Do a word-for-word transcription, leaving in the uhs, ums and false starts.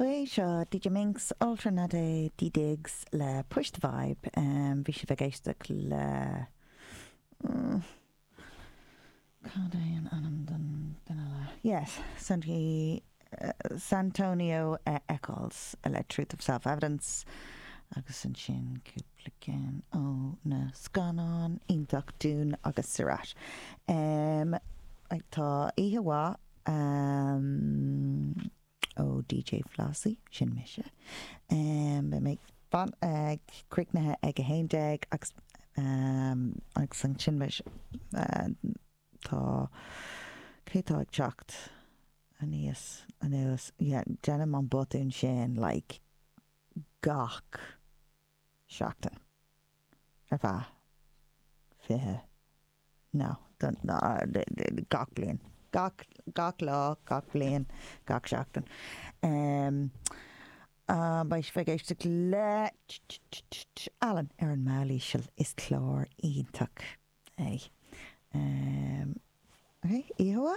Ok, seo DJ Minx Alternate D-Diggs le Push the Vibe. Um, bhí sibh ag éisteacht le mm, Cad é an ainm den duine eile? Yes, Santi, uh, Santonio uh, Eccles le Truth of Self-Evidence agus ansin cúpla ceann ó na scannáin iontach Dune agus Sirat. Um, tá oíche mhaith um, ó DJ Flossie sin mise. Um, Beidh mé fan ag críochnaithe ag a haon déag agus um, agus ansin uh, tá cé tá ag teacht aníos anuas yeah, déanaim an botún sin like gach seachtain ar feadh fiche no don no, gach bliain gach gach lá gach bliain gach seachtain um, uh, beidh sibh ag éisteacht le Alan ar an mball íseal is clár iontach é. Um, okay, Ihoa?